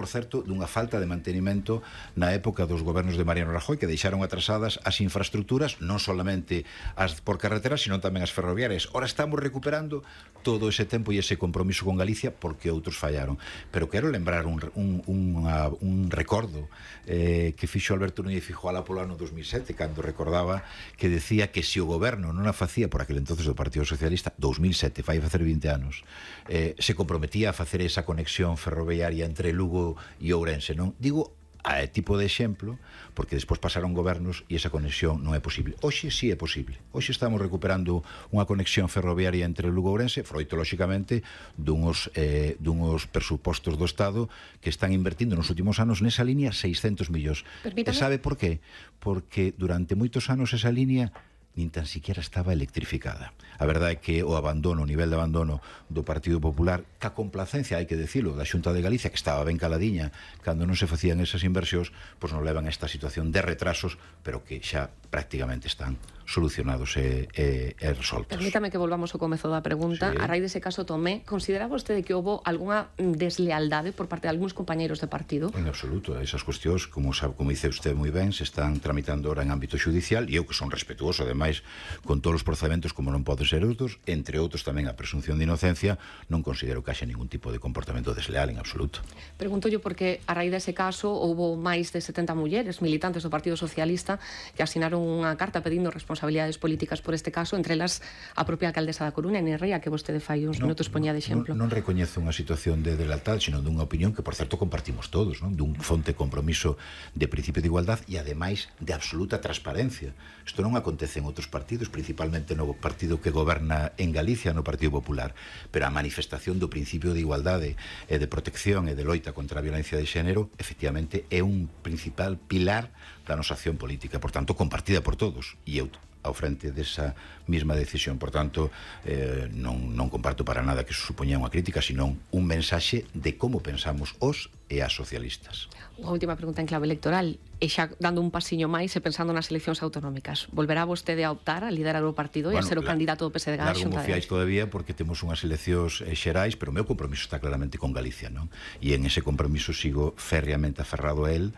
por certo, dunha falta de mantenimento na época dos gobernos de Mariano Rajoy, que deixaron atrasadas as infraestructuras, non solamente as por carretera, sino tamén as ferroviarias. Ora estamos recuperando todo ese tempo e ese compromiso con Galicia porque outros fallaron. Pero quero lembrar un recordo que fixo Alberto Núñez Feijóo polo ano 2007, cando recordaba que decía que se o goberno non a facía por aquel entonces do Partido Socialista, 2007, fai facer 20 anos, se comprometía a facer esa conexión ferroviaria entre Lugo e Ourense, non? Digo a tipo de exemplo, porque despois pasaron gobernos e esa conexión non é posible. Hoxe sí é posible. Hoxe estamos recuperando unha conexión ferroviaria entre Lugo e Ourense, froito, lóxicamente, dunos presupostos do Estado que están invertindo nos últimos anos nesa línea 600 millóns. Permítame. E sabe por qué? Porque durante moitos anos esa línea nin tan siquiera estaba electrificada. A verdade é que o abandono, o nivel de abandono do Partido Popular, ca complacencia, hai que dicilo, da Xunta de Galicia, que estaba ben caladiña cando non se facían esas inversións, pois nos levan a esta situación de retrasos, pero que xa prácticamente están solucionados e resoltos. Permítame que volvamos ao comezo da pregunta. Sí. A raíz dese caso Tomé, considera vostede que houbo algunha deslealdade por parte de algúns compañeiros de partido? En absoluto. Esas cuestións, como dice usted moi ben, se están tramitando ahora en ámbito judicial, e eu que son respetuoso, ademais, con todos os procedementos, como non pode ser outros, entre outros tamén a presunción de inocencia, non considero que haxa ningún tipo de comportamento desleal en absoluto. Pregunto yo porque a raíz dese caso houbo máis de 70 mulleres militantes do Partido Socialista que asinaron unha carta pedindo responsabilidades políticas por este caso, entre elas a propia alcaldesa da Coruña, Nerea, que vostede fai uns minutos poñía de exemplo. Non recoñezo unha situación de deslealtad, sino dunha opinión que, por certo, compartimos todos, non? Dun fonte compromiso de principio de igualdad e, ademais, de absoluta transparencia. Isto non acontece en outros partidos, principalmente no partido que goberna en Galicia, no Partido Popular, pero a manifestación do principio de igualdade e de protección e de loita contra a violencia de xénero, efectivamente, é un principal pilar da nosa acción política, por tanto, compartida por todos, e eu ao frente desa mesma decisión. Por tanto, non comparto para nada que eso supoña unha crítica, senón un mensaxe de como pensamos os e as socialistas. Unha última pregunta en clave electoral, e xa dando un pasiño máis e pensando nas eleccións autonómicas, volverá vostede a optar a liderar o partido e a ser o candidato do PSDG á Xunta de Galicia? Todavía, porque temos unhas eleccións xerais, pero o meu compromiso está claramente con Galicia, non? E en ese compromiso sigo férreamente aferrado a él,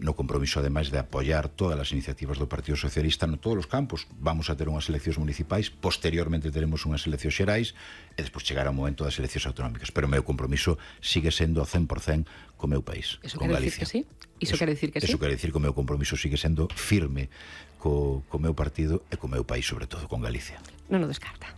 no compromiso, ademais, de apoiar todas as iniciativas do Partido Socialista en todos os campos. Vamos a ter unhas eleccións municipais, posteriormente teremos unhas eleccións xerais e despois chegará o momento das eleccións autonómicas, pero o meu compromiso sigue sendo ao 100% co meu país, con Galicia. Iso quere dicir que sí? Iso quere dicir que o meu compromiso sigue sendo firme co meu partido e co meu país, sobre todo con Galicia. Non o descarta.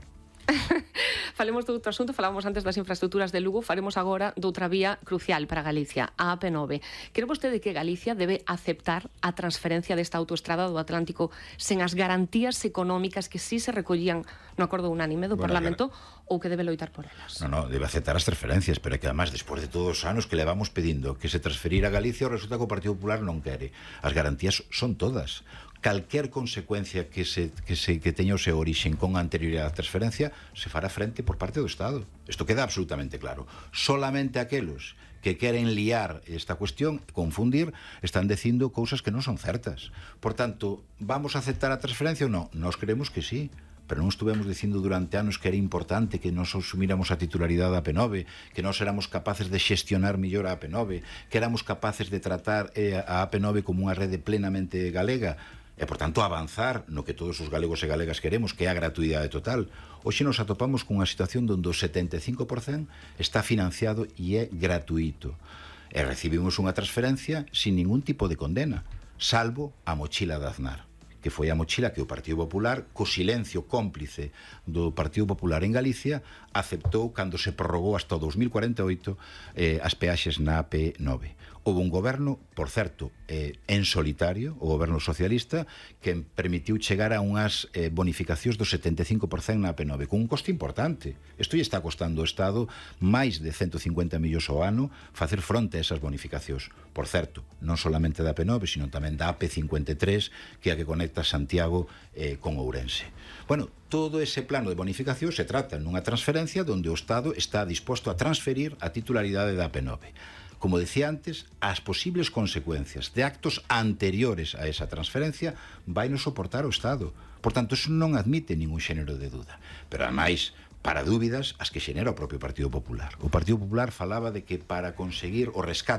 Falemos de outro asunto, falábamos antes das infraestructuras de Lugo, faremos agora doutra vía crucial para Galicia, a AP9. Cree vostede que Galicia debe aceptar a transferencia desta autoestrada do Atlántico sen as garantías económicas que sí se recollían no acordo unánime do Parlamento, ou que debe loitar por elas? Non, debe aceptar as transferencias, pero é que además, despois de todos os anos que levamos pedindo que se transferira a Galicia, resulta que o Partido Popular non quere. As garantías son todas. Calquer consecuencia que teña o seu orixen con anterioridade á transferencia se fará frente por parte do Estado. Isto queda absolutamente claro. Solamente aqueles que queren liar esta cuestión, confundir, están dicindo cousas que non son certas. Por tanto, vamos a aceptar a transferencia ou non? Nós creemos que sí, pero non estuvemos dicindo durante anos que era importante que nos asumíramos a titularidade da AP9, que nós éramos capaces de xestionar mellor a AP9, que éramos capaces de tratar a AP9 como unha rede plenamente galega, e, por tanto, avanzar no que todos os galegos e galegas queremos, que é a gratuidade total. Hoxe nos atopamos cunha situación onde o 75% está financiado e é gratuito. E recibimos unha transferencia sin ningún tipo de condena, salvo a mochila de Aznar, que foi a mochila que o Partido Popular, co silencio cómplice do Partido Popular en Galicia, aceptou cando se prorrogou hasta o 2048 as peaxes na AP9. Houve un goberno, por certo, en solitario, o goberno socialista, que permitiu chegar a unhas bonificacións do 75% na AP9, con un coste importante. Isto lle está costando ao Estado máis de 150 millóns ao ano facer fronte a esas bonificacións. Por certo, non solamente da AP9, sino tamén da AP53, que é a que conecta Santiago con Ourense. Bueno, todo ese plano de bonificación se trata nunha transferencia onde o Estado está disposto a transferir a titularidade da AP9. Como decía antes, as posibles consecuencias de actos anteriores a esa transferencia vai nos soportar o Estado. Por tanto, eso non admite ningún xénero de duda. Pero, ademais, para dúbidas as que xenera o propio Partido Popular. O Partido Popular falaba de que para conseguir o rescate